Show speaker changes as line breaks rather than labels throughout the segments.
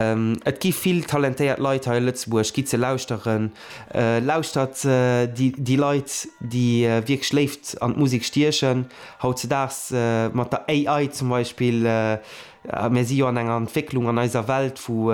Et gi vill talentéiert Leit hei a Lëtzebuerg, gitt se lauschteren. Lauschtert déi Leit, déi wierklech Léift an d'Musek stiechen. Hautzedaags mat der AI zum Beispill, mir si jo an enger Entwécklung an eiser Welt, wou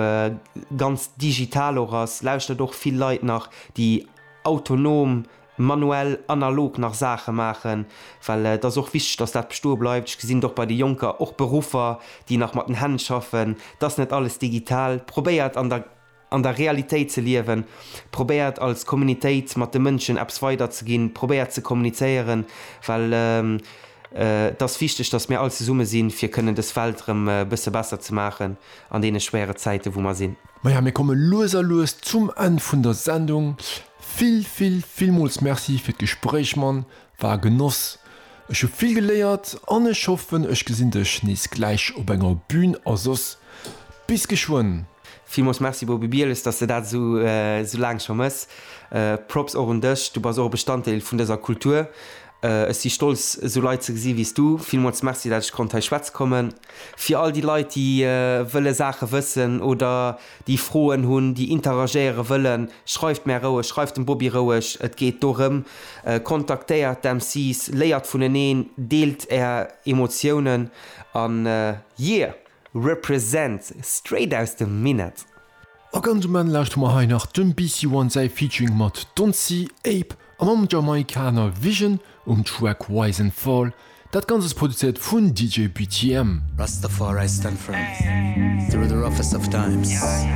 ganz digital och ass, lauschtert och vill Leit nach, déi autonom manuell, analog nach Saache maachen, well et ass och wichteg, dass dat bestoe bleift. Ech gesinn et och bei de Jonker, och Beruffer, déi nach mat den Hänn schaffen, et ass net alles digital. Probéiert an der an der Realitéit ze liewen, probéiert als Communitéit mat de Mënschen eppes weiderzeginn, probéiert ze kommunizéieren, well et ass wichteg, dass mir all zesumme sinn, fir kënnen dës Welt erëm e bësse besser ze maachen an deene schwéiere Zäite wou mer sinn.
Maja, mir komme lues a lues zum Enn vun der Sendung. Vill vill villmools Merci fir d'Gespréich Mann, war e Genoss, ech hu vill geléiert an ech hoffen ech gesinn dech nees gläich op enger Bühn a soss bis geschwënn.
Villmools Merci Bobby Bieles, dass de dat esou esou laang scho mëss. Props och un dech, du bass och e Bestanddeel vun dëser Kultur. Ech si stolz esou Leit ze gesi wéi s du. Villmools Merci dat ech konnt hei schwätze kommen. Fir all déi Leit déi wëlle Saache wëssen oder déi Froen hunn, déi interagéiere wëllen, schreift mär roueg, schreift dem Bobby roueg, et geet dorëm, kontaktéiert d'MCs, léiert vuneneen, deelt är Emotiounen an yeah! Represent! Straight aus dem Minett!
A ganz um Enn lauschtere mer hei nach dem BC One säi Featuring mat Don C, Ape a mam Jamaikaner Vision um Track Rise and Fall. Dat Ganzt ass produzéiert vun DJ BTM.
Rastafari stand firm through the roughest of times.